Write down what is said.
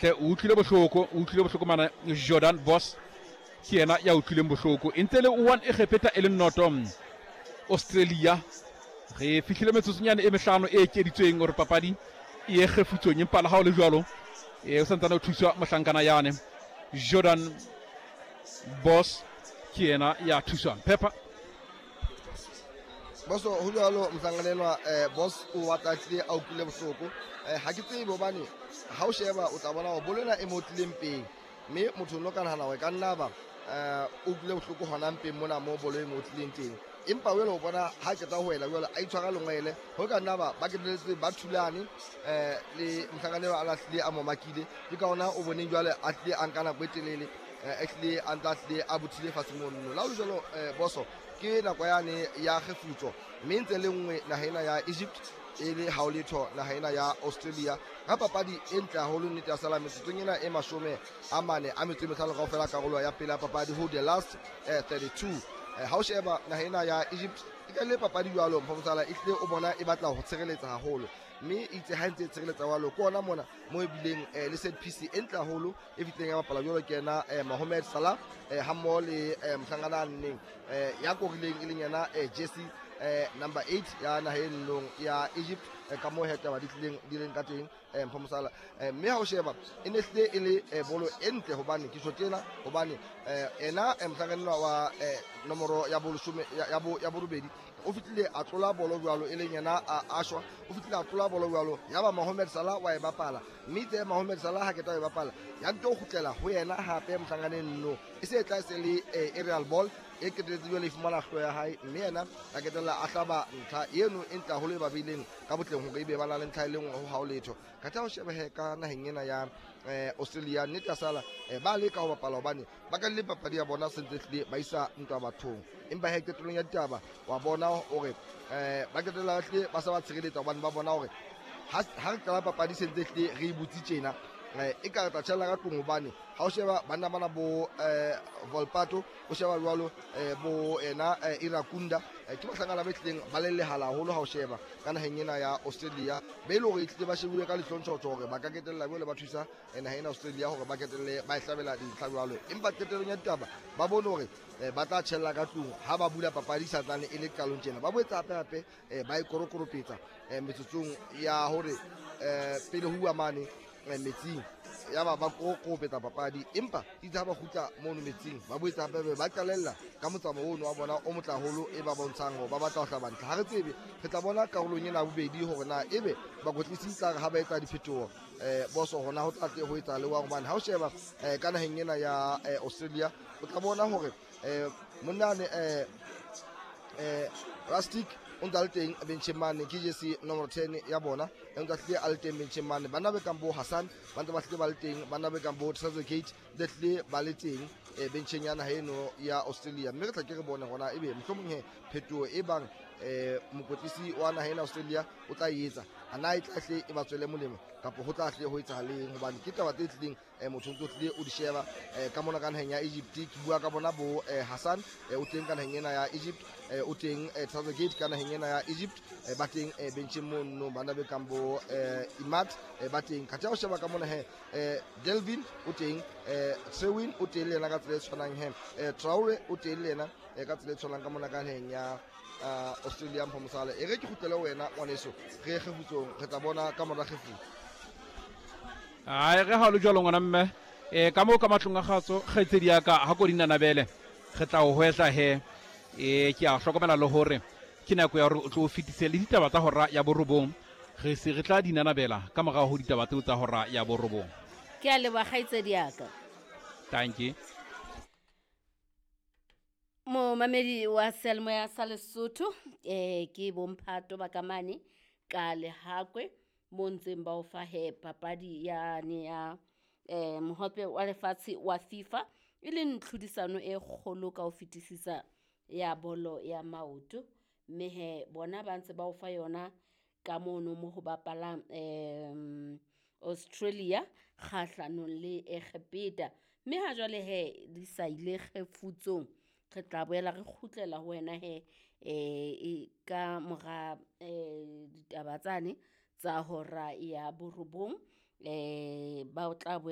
Hle o utlwile bohloko, o utlwile bohloko mana Jordan Boss ke yena ya utlwileng bohloko. E ntse le one Egepeta e le noto Australia. Re fihlile metsotsonyane e mehlano e ekeditsweng hore papadi e ye kgefutsong, empa le ha o le jwalo o santsane o thuswa mohlankana yane Jordan Boss ke yena ya thuswang. Pepper Boso ho jwalo mohlankana enwa boss o batla tlile a utlwile bohloko. Ha ke tsebe hobane ha o sheba o tla bona hore bolo ena e mo tlileng pele, mme motho o no ka nahana hore ka nna ba o utlwile bohloko hona mpeng mona mo bolo e mo tlileng teng, empa jwale o bona ha qeta ho wela jwale a itshwara lengwele ho ka nna ba ba keteletse ba thulane le mohlankana eo a lahlile a mo makile. Ke ka ona o boneng jwale a tlile a nka nako e telele, a tlile a ntse a tlile a bothile fatshe mono. La ho le jwalo boso ke nako yane ya kgefutso, mme ntse le nngwe naha ena ya Egypt e le hao letho naha ena ya Australia ka papadi e ntle haholo. Nnete ya sala metsotsong ena e 45 kaofela karolo ya pele ya papadi ho the last 32. Ha o sheba naha ena ya Egypt e ka le papadi jwalo mphomosala e tlile o bona e batla ho tshireletsa haholo, mme itse ha ntse e tshireletsa jwalo ke ona mona mo e bileng le set piece e ntle haholo e fihlileng ya bapala jwalo ke yena Mohamed Salah ha mmoho le mohlankana a nneng ya korileng e leng yena Jesse number 8 ya naha e nnong ya Egypt, ka moo he taba di tlileng di leng ka teng mphomosala. Mme ha o sheba e ne hlile e le bolo e ntle, hobane ke tjho tjena hobane ena mohlankana wa nomoro ya boleshome ya borobedi o fihlile a tlola bolo jwalo e leng yena a shwa, o fihlile a tlola bolo jwalo ya ba Mohamed Salah wa e bapala, mme itse Mohamed Salah ha keta e bapala ya nto kgutlela ho yena hape mohlankaneng no e se e tla se le aerial ball e qetelletse jwale e fumana hlo ya hae, mme yena a ketella a hlaba ntlha eno e ntle haholo e ba beileng ka botleng hore ebe ba na le ntlha e le nngwe ho hao letho. Ka tla ho shebehe ka naheng ena ya Australia nnete ya sala ba leka ho bapala hobane ba ka le papadi ya bona sentse tlile ba isa ntwa bathong, empa he qetellong ya ditaba wa bona hore ba qetella tlile ba sa ba tshireletsa hobane ba bona hore ha re qala papadi sentse tlile re e butse tjena e ka re tla tjhella ka tlung, hobane ha o sheba banna bana bo Volpato, o sheba jwalo bo ena Irakunda, ke bahlankana ba tlileng ba le lehala haholo ha o sheba ka naheng ena ya Australia, be e le hore e tlile ba shebuwe ka lehlontjhotjho hore ba ka ketella jwale ba thusa naha ena Australia hore ba ketelle ba e hlabela dintlha jwalo, empa qetellong ya ditaba ba bone hore ba tla tjhella ka tlung ha ba bula papadi sa tlane e le qalong tjena. Ba boetse hape hape ba e korokoropetsa metsotsong ya hore pele ho uwa mane metsing ya ba ba koropetsa papadi, empa itse ha ba kgutla mono metsing ba boetse hape ba qalella ka motsamao ono wa bona o motle haholo e ba bontshang hore ba batla ho hlaba ntlha. Ha re tsebe, re tla bona karolong ena ya bobedi hore na ebe bakwetlisi tla re ha ba etsa diphetoho boso hona ho tla tle ho etsa le wang, hobane ha o sheba ka naheng ena ya Australia o tla bona hore monnane Rustic o ntse a le teng bencheng mane, ke jesi nomoro 10 ya bona e ntse a hlile a le teng bencheng mane. Banna be kang bo Hassan ba ntse ba hlile ba le teng, banna be kang bo Trezeguet ba hlile ba le teng bencheng ya naha eno ya Australia, mme re tla ke re bone hona ebe mohlomong he phetoho e bang mokwetlisi wa naha ena Australia o tla etsa a na e tla hle e ba tswele molemo kapa ho tla hle ho etsahaleng, hobane ke taba tse tlileng motho ntso tlile o di sheba ka mona ka naheng ya Egypt. Ke bua ka bona bo Hassan o teng ka naheng ena ya Egypt, o teng Trezeguet ka naheng ena ya Egypt, ba teng bencheng mono bana be kang bo Imat ba teng. Ka tla o sheba ka mona he Delvin o teng, Trewin o teng le yena ka tsela e tshwanang he Traore o teng le yena ka tsela e tshwanang ka mona ka naheng ya Australia. Mphomosala e re ke kgutlele wena ngwaneso, re ye kgefutsong, re tla bona ka mora kgefutso. Ai re ha lo jwalo ngwana mme ka moo ka matlong a kgatso kgaitsedi ya ka ha ko dinanabele re tla o hwetla he ke a hlokomela le hore ke nako ya hore o tlo o fetise le ditaba tsa hora ya borobong, re se re tla dinanabela ka morao ho ditaba tseo tsa hora ya borobong. Ke a leboha kgaitsedi ya ka. Thank you. Momamedi wa seyalemoya sa Lesotho ke bomphato ba ka mane ka Lehakwe mo ntseng ba o fa he papadi yane ya mohope wa lefatshe wa FIFA e leng tlhodisano e kgolo ka ho fetisisa ya bolo ya maoto, mme he bona ba ntse ba o fa yona ka mono mo ho bapalang Australia kgahlanong le Egepeta, mme ha jwale he di sa ile kgefutsong re tla boela re kgutlela ho wena he ka mora ditaba tsane tsa hora ya borobong ba o tla boela.